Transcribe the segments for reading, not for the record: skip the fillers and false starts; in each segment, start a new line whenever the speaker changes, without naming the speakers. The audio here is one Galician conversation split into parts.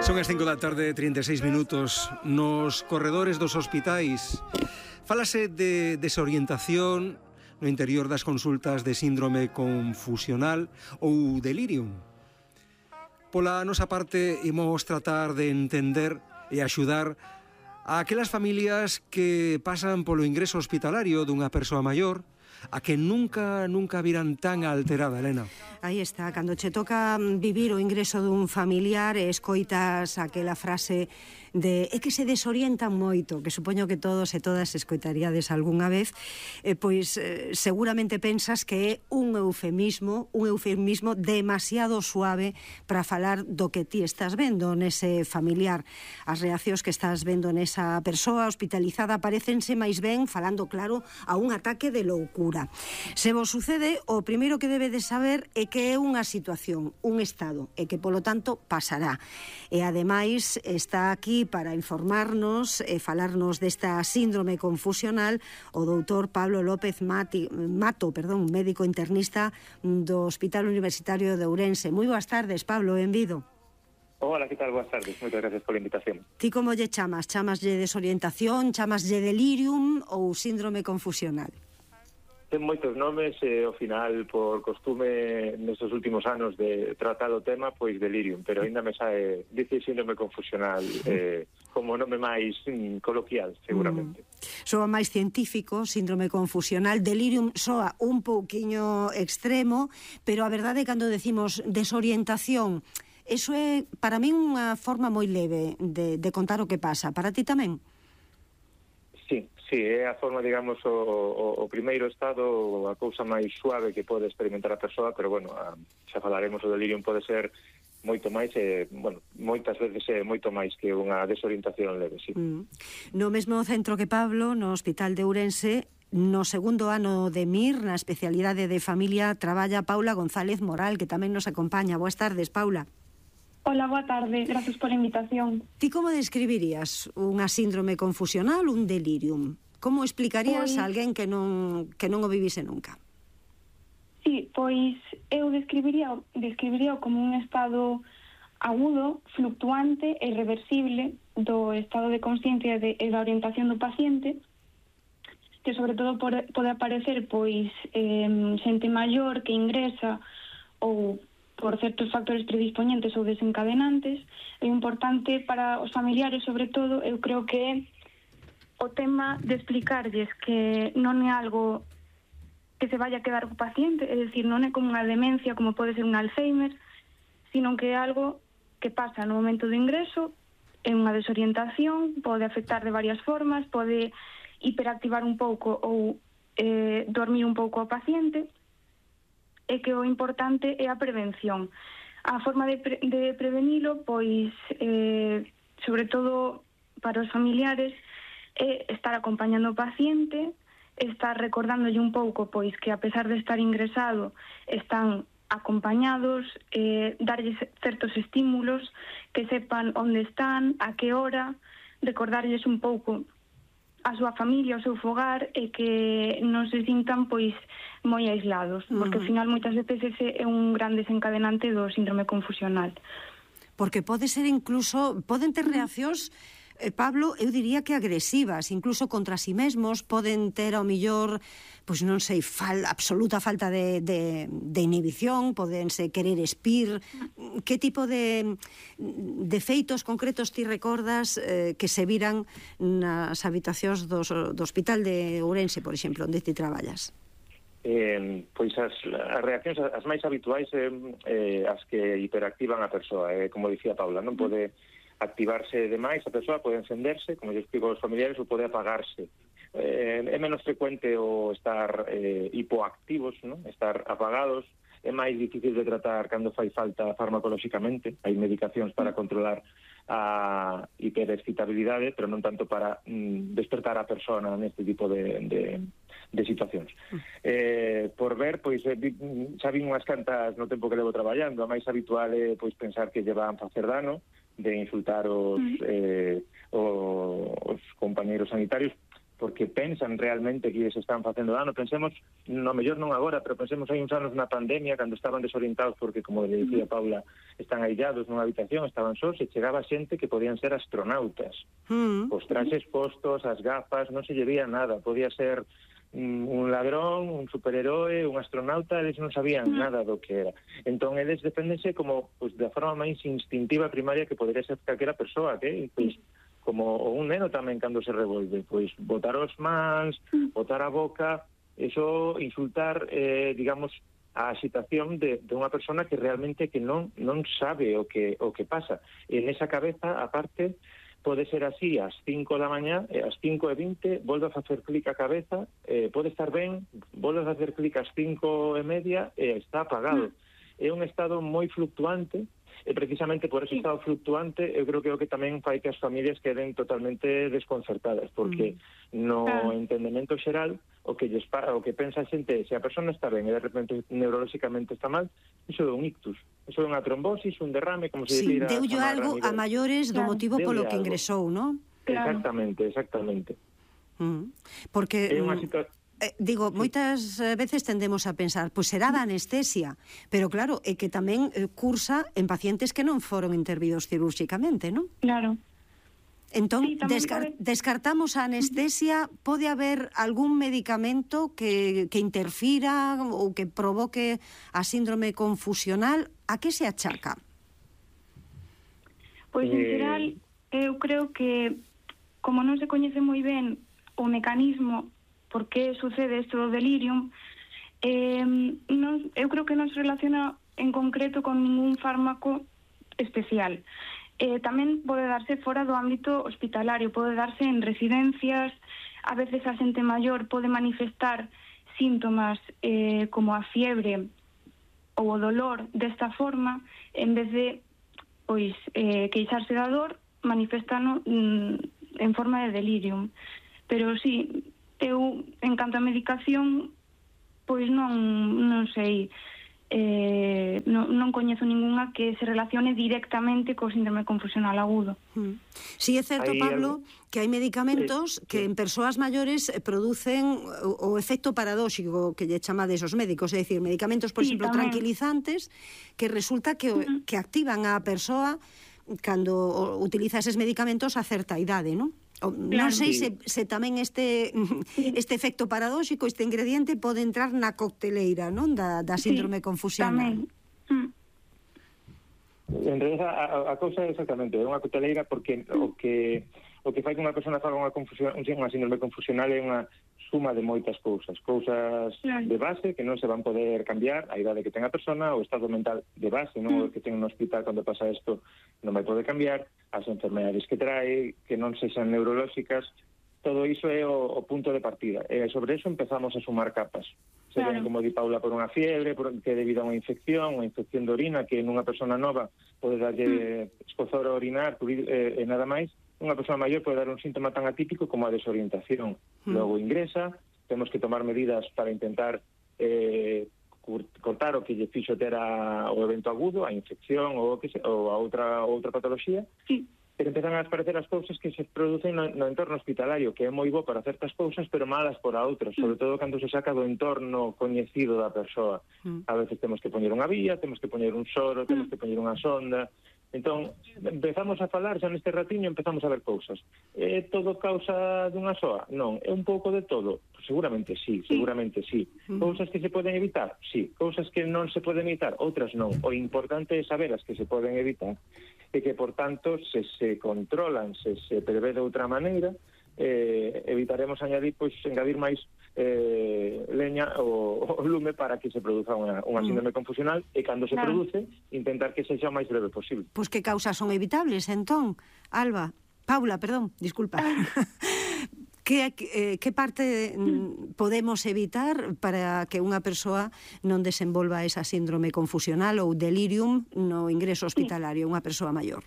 Son as 5 da tarde, 36 minutos. Nos corredores dos hospitais fálase de desorientación no interior das consultas de síndrome confusional ou delirium. Pola nosa parte, imos tratar de entender e axudar a aquelas familias que pasan polo ingreso hospitalario dunha persoa maior, a que nunca viran tan alterada, Elena.
Aí está, cando che toca vivir o ingreso dun familiar e escoitas aquela frase de é que se desorientan moito, que supoño que todos e todas escoitaríades algunha vez, pois seguramente pensas que é un eufemismo demasiado suave para falar do que ti estás vendo nese familiar. As reaccións que estás vendo nesa persoa hospitalizada parecense máis ben, falando claro, a un ataque de loucura. Se vos sucede, o primeiro que debedes saber é que é unha situación, un estado, e que polo tanto pasará. E ademais está aquí para informarnos e falarnos desta síndrome confusional o doutor Pablo López Mato, médico internista do Hospital Universitario de Ourense. Moi boas tardes, Pablo, benvido.
Hola, que tal? Boas tardes, moitas gracias pola invitación.
Ti como lle chamas? Chamaslle desorientación, chamaslle delirium ou síndrome confusional?
Ten moitos nomes e ao final, por costume nestes últimos anos de tratar o tema, pois delirium, pero ainda me sae dice síndrome confusional como nome máis coloquial, seguramente.
Soa máis científico, síndrome confusional. Delirium soa un pouquiño extremo, pero a verdade é cando decimos desorientación, eso é para min unha forma moi leve de contar o que pasa. Para ti tamén?
Sí, é a forma, digamos, o primeiro estado, a cousa máis suave que pode experimentar a persoa, pero, bueno, xa falaremos, o delirium pode ser moito máis, moitas veces é moito máis que unha desorientación leve, sí.
No mesmo centro que Pablo, no Hospital de Ourense, no segundo ano de MIR, na especialidade de familia, traballa Paula González Moral, que tamén nos acompaña. Boas tardes, Paula.
Hola, boa tarde, gracias pola invitación.
Ti como describirías unha síndrome confusional, un delirium? Como explicarías a alguén que non o vivise nunca?
Sí, pois eu describiría como un estado agudo, fluctuante e irreversible do estado de consciencia e da orientación do paciente, que sobre todo pode aparecer pois xente maior que ingresa ou por certos factores predispoñentes ou desencadenantes. É importante para os familiares, sobre todo, eu creo que é o tema de explicarlles que non é algo que se vaya a quedar co paciente, é dicir, non é como unha demencia, como pode ser un Alzheimer, sino que é algo que pasa no momento do ingreso, é unha desorientación, pode afectar de varias formas, pode hiperactivar un pouco ou dormir un pouco ao paciente, e que o importante é a prevención. A forma de prevenilo, pois, sobre todo para os familiares, é estar acompañando o paciente, estar recordándolle un pouco, pois, que a pesar de estar ingresado, están acompañados, darlles certos estímulos, que sepan onde están, a que hora, recordarlles un pouco a súa familia, o seu fogar, e que non se sintan pois moi aislados, porque ao final moitas veces ese é un gran desencadenante do síndrome confusional.
Porque pode ser incluso, poden ter reaccións, Pablo, eu diría que agresivas, incluso contra si mesmos, poden ter ao millor, pois non sei, absoluta falta de inhibición, podense querer espir. Que tipo de feitos concretos ti recordas que se viran nas habitacións do Hospital de Ourense, por exemplo, onde ti traballas?
Pois as reaccións as máis habituais as que hiperactivan a persoa, como dicía Paula, non pode activarse demais a persoa, pode encenderse, como lle explico aos familiares, ou pode apagarse. É menos frecuente o estar hipoactivos, non? Estar apagados. É máis difícil de tratar cando fai falta farmacolóxicamente. Hai medicacións para controlar a hiperexcitabilidade, pero non tanto para despertar a persona neste tipo de situacións. Por ver, pois, xa vin unhas cantas no tempo que levo traballando. A máis habitual é pois pensar que lle van facer dano, de insultar os compañeiros sanitarios, porque pensan realmente que se están facendo dano. Pensemos, no mellor non agora, pero pensemos hai uns anos na pandemia, cando estaban desorientados porque, como le dicía Paula, están aillados nunha habitación, estaban sós, e chegaba xente que podían ser astronautas. Os traxes postos, as gafas, non se lle veía nada. Podía ser un ladrón, un superheroe, un astronauta, eles non sabían nada do que era. Entón, eles defendense como, pues, da forma máis instintiva primaria que podería ser calquera persoa, que, pues, como un neno tamén cando se revolve, pois botar os mans, botar a boca, eso insultar, digamos, a excitación de unha persona que realmente que non sabe o que pasa. En esa cabeza, aparte, pode ser así ás 5 da mañá, ás 5:20, volve a facer clic a cabeza, pode estar ben, volve a facer clic ás 5:30 e está apagado. É un estado moi fluctuante, e precisamente por ese estado fluctuante eu creo que é o que tamén fai que as familias queden totalmente desconcertadas, porque no entendemento xeral o que pensa a xente é se a persona está ben e de repente neurolóxicamente está mal, iso é un ictus, iso é unha trombosis, un derrame, como se dira.
Deulle algo a maiores do motivo polo que ingresou, non?
Exactamente.
Porque
é unha situación.
Digo, moitas veces tendemos a pensar, pois será da anestesia, pero claro, é que tamén cursa en pacientes que non foron intervidos cirúrxicamente, non?
Claro.
Entón, descartamos a anestesia, pode haber algún medicamento que interfira ou que provoque a síndrome confusional? A que se achaca?
Pois, en geral, eu creo que, como non se coñece moi ben o mecanismo por que sucede isto do delirium, eu creo que non se relaciona en concreto con ningún fármaco especial. Tamén pode darse fora do ámbito hospitalario, pode darse en residencias, a veces a xente maior pode manifestar síntomas como a fiebre ou o dolor desta forma, en vez de queixarse da dor, manifestano en forma de delirium. Pero sí, eu, en canto a medicación, pois non sei, non coñezo ninguna que se relacione directamente co síndrome confusional agudo.
Si é certo, Pablo, que hai medicamentos que en persoas maiores producen o efecto paradóxico que lle chamades os médicos, é dicir, medicamentos, por exemplo, tranquilizantes, que resulta que activan a persoa cando utiliza eses medicamentos a certa idade, non? Non sei se tamén este efecto paradóxico, este ingrediente pode entrar na cocteleira, non, da síndrome confusional.
En realidad a cousa é exactamente unha cocteleira, porque o que fai que unha persona faga unha síndrome confusional é unha suma de moitas cousas de base que non se van poder cambiar, a idade que ten a persona, o estado mental de base, non o que ten no hospital cando pasa isto non vai poder cambiar, as enfermedades que trae, que non sexan neurolóxicas, todo iso é o punto de partida. E sobre eso empezamos a sumar capas. Se ven, como di Paula, por unha fiebre, que é debido a unha infección de orina, que nunha persona nova pode darlle escozor a orinar e nada máis. Unha persona maior pode dar un síntoma tan atípico como a desorientación. Logo ingresa, temos que tomar medidas para intentar cortar o que lle fixo ter o evento agudo, a infección ou a outra patoloxía. Pero empezan a aparecer as cousas que se producen no entorno hospitalario, que é moi bo para certas cousas, pero malas para outras, sobre todo cando se saca do entorno coñecido da persoa. A veces temos que poñer unha vía, temos que poñer un soro, temos que poñer unha sonda. Entón, empezamos a falar, xa neste ratiño empezamos a ver cousas. É todo causa dunha soa? Non, é un pouco de todo. Seguramente sí. Cousas que se poden evitar? Sí. Cousas que non se poden evitar? Outras non. O importante é saber as que se poden evitar e que, por tanto, se controlan, se prevé de outra maneira, evitaremos engadir máis leña o lume para que se produza unha síndrome confusional e cando se produce, intentar que sexa o máis breve posible.
Pois que causas son evitables, entón? Paula, perdón, disculpa. Que parte podemos evitar para que unha persoa non desenvolva esa síndrome confusional ou delirium no ingreso hospitalario, unha persoa maior?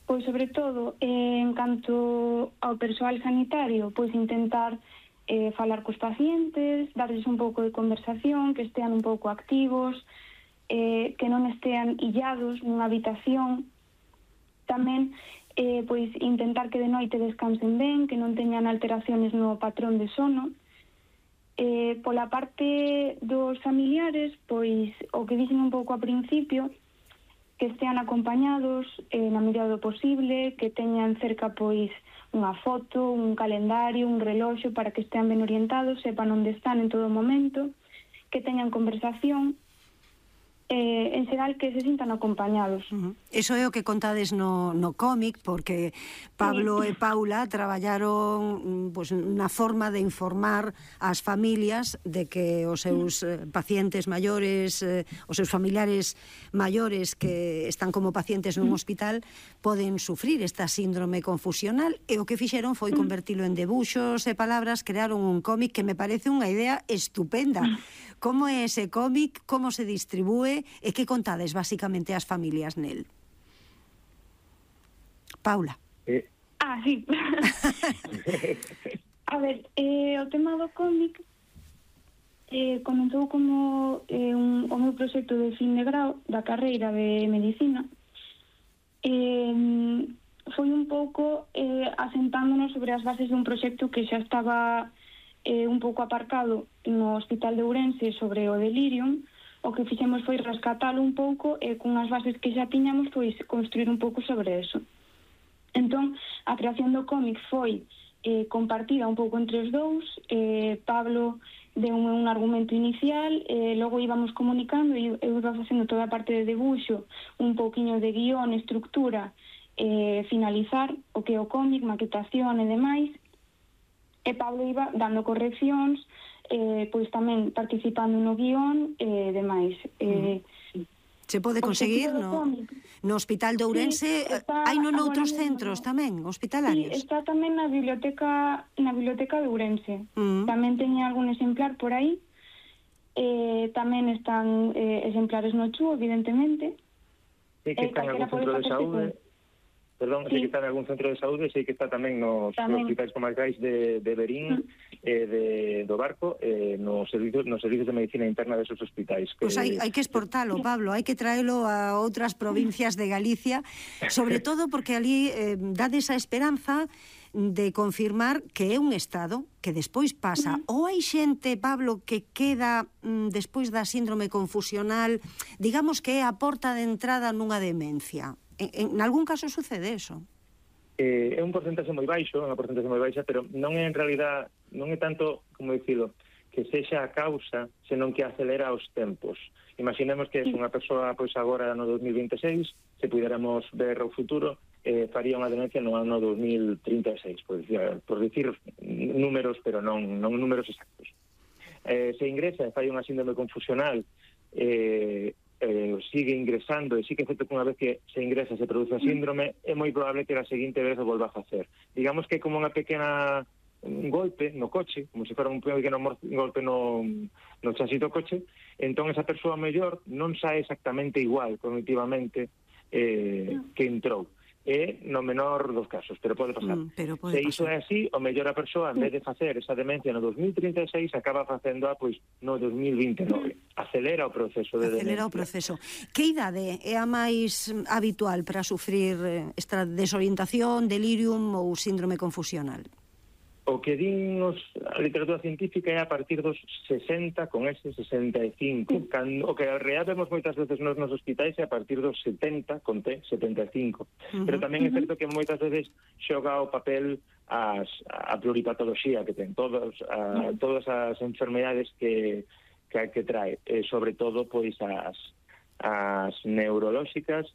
Pois, sobre todo, en canto ao persoal sanitario, pois intentar falar cos pacientes, darles un pouco de conversación, que estean un pouco activos, que non estean illados nunha habitación. Tamén pois intentar que de noite descansen ben, que non teñan alteraciones no patrón de sono. Pola parte dos familiares, pois o que dixen un pouco a principio, que estean acompañados na medida do posible, que teñan cerca pois unha foto, un calendario, un reloxo para que estean ben orientados, sepan onde están en todo momento, que teñan conversación, en xeral que se sintan acompañados.
Eso é o que contades no cómic, porque Pablo e Paula traballaron na forma de informar ás familias de que os seus pacientes maiores, os seus familiares maiores que están como pacientes nun hospital poden sufrir esta síndrome confusional, e o que fixeron foi convertilo en debuxos e palabras, crearon un cómic que me parece unha idea estupenda. Como é ese cómic, como se distribúe e que contades basicamente ás familias nel? Paula.
Sí. A ver, o tema do cómic comenzou como o meu proxecto de fin de grau da carreira de Medicina. Foi un pouco asentándonos sobre as bases dun proxecto que xa estaba un pouco aparcado no Hospital de Ourense sobre o delirium. O que fixemos foi rescatalo un pouco e con as bases que xa tiñamos pois construir un pouco sobre eso. Entón, a creación do cómic foi compartida un pouco entre os dous. Pablo deu un argumento inicial, logo íbamos comunicando e eu iba facendo toda a parte de debuxo, un pouquiño de guión, estructura, finalizar o que é o cómic, maquetación e demais, e Pablo iba dando correccións, pois tamén participando no guión e demais.
Se pode conseguir no Hospital de Ourense, hai non noutros centros tamén, hospitalarios?
Sí, está tamén na biblioteca de Ourense. Tamén teña algún exemplar por aí. Tamén están exemplares no CHU, evidentemente.
Sí, que está en algún centro de saúde. Perdón, sí que está en algún centro de saúde, sei que está tamén nos hospitais comarcais de Berín, do Barco, nos servizos de medicina interna desos hospitais.
Pois hai que exportalo, Pablo, hai que traelo a outras provincias de Galicia, sobre todo porque ali dade esa esperanza de confirmar que é un estado que despois pasa. Ou hai xente, Pablo, que queda despois da síndrome confusional, digamos que é a porta de entrada nunha demencia. En algún caso sucede eso?
É un porcentaxe moi baixo, pero non é en realidad, non é tanto, como dicilo, que sexa a causa, senón que acelera os tempos. Imaginemos que é unha persoa, pois agora no 2026, se puderamos ver o futuro, faría unha demencia no ano 2036, por dicir números, pero non números exactos. Se ingresa e fai unha síndrome confusional, sigue ingresando e sí que é certo que unha vez que se ingresa se produce a síndrome, é moi probable que a seguinte vez o volva a facer. Digamos que é como unha pequena golpe no coche, como se fora un pequeno golpe no chasis do coche, entón esa persoa mellor non sae exactamente igual cognitivamente que entrou. É no menor dos casos, pero pode pasar. Se iso é así, o mellor a persoa, en vez de facer esa demencia no 2036, acaba facéndoa pois no 2029. Acelera o proceso de demencia.
Acelera o proceso. Que idade é a máis habitual para sufrir esta desorientación, delirium ou síndrome confusional?
O que din a literatura científica é a partir dos 60, con ese 65. O que real vemos moitas veces nos hospitais é a partir dos 70, con T, 75. Pero tamén é certo que moitas veces xoga o papel a pluripatoloxía que ten, todas as enfermedades que trae, sobre todo pois as neurolóxicas,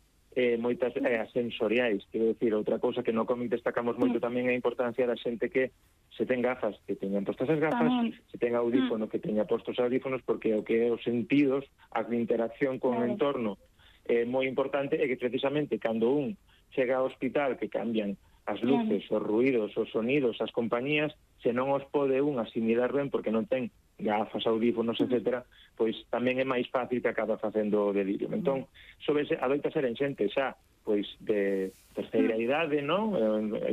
moitas as sensoriais. Quero dicir, outra cousa que no cómic destacamos moito tamén é a importancia da xente que se ten gafas, que teñan postas as gafas, se ten audífono, que teña postos audífonos, porque o que é os sentidos, a interacción con o entorno é moi importante, e que precisamente cando un chega ao hospital que cambian as luces, os ruidos, os sonidos, as compañías, se non os pode un asimilar ben porque non ten gafas, audífonos, etc., pois tamén é máis fácil que acaba facendo o delirio. Entón, adoita ser en xente xa pois de terceira idade, non?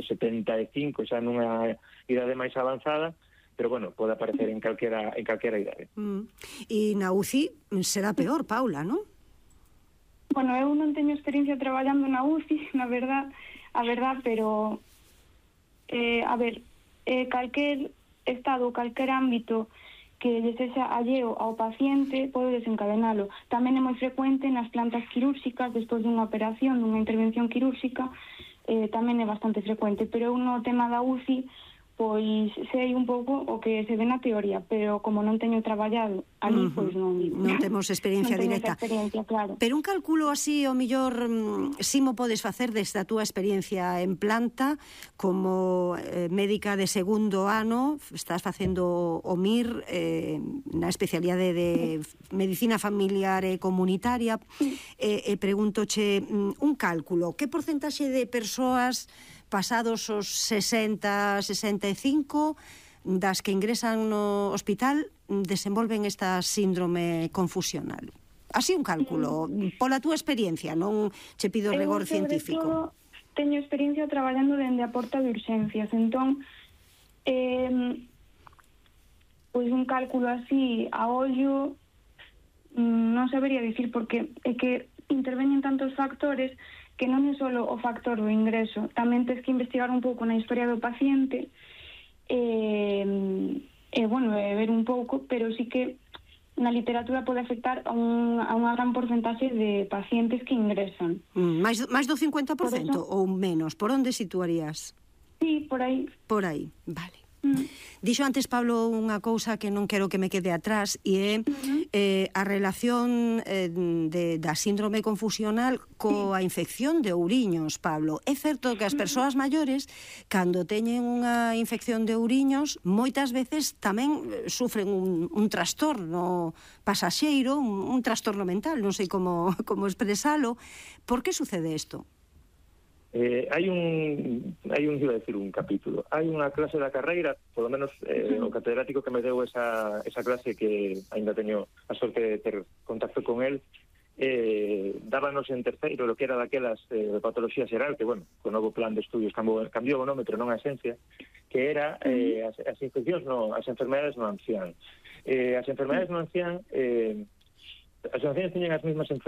75, xa nunha idade máis avanzada, pero bueno, pode aparecer en calquera idade.
E na UCI será peor, Paula, non?
Bueno, eu non teño experiencia traballando na UCI, na verdad, a verdad, pero a ver, calquer estado, calquer ámbito que lle sexa alleo ao paciente pode desencadenalo. Tamén é moi frecuente nas plantas quirúrxicas, despois dunha operación, dunha intervención quirúrxica, tamén é bastante frecuente, pero eu no tema da UCI pois sei un pouco o que se ve na teoría, pero como non teño traballado ali, pois non
temos experiencia directa.
Claro.
Pero un cálculo así, o mellor, si mo podes facer desde a túa experiencia en planta, como médica de segundo ano, estás facendo o MIR na especialidade de Medicina Familiar e Comunitaria, e pregúntoche un cálculo, que porcentaxe de persoas pasados os 60, 65, das que ingresan no hospital desenvolven esta síndrome confusional? Así un cálculo, pola túa experiencia, non che pido rigor científico.
Eu, teño experiencia traballando dende a porta de urxencias, entón, pois un cálculo así a ollo non sabería dicir, porque é que interveñen tantos factores que non é só o factor do ingreso, tamén tens que investigar un pouco na historia do paciente ver un pouco, pero sí que na literatura pode afectar a unha gran porcentaxe de pacientes que ingresan.
Mais do 50% ou menos? Por onde situarías?
Sí, por aí.
Por aí, vale. Dixo antes Pablo unha cousa que non quero que me quede atrás, e é a relación da síndrome confusional coa infección de ouriños, Pablo. É certo que as persoas maiores, cando teñen unha infección de ouriños, moitas veces tamén sufren un trastorno pasaxeiro, un trastorno mental, non sei como expresalo. Por que sucede isto?
Hai un capítulo. Hai unha clase da carreira, polo menos o catedrático que me deu esa clase, que ainda teño a sorte de ter contacto con el, dábanos en terceiro lo que era daquelas de patoloxía xeral, que, bueno, co novo plan de estudios cambiou o nome, pero non a esencia, que era as infeccións, as enfermedades no ancián. As enfermedades no ancián, as ancianas teñen as mesmas enfermedades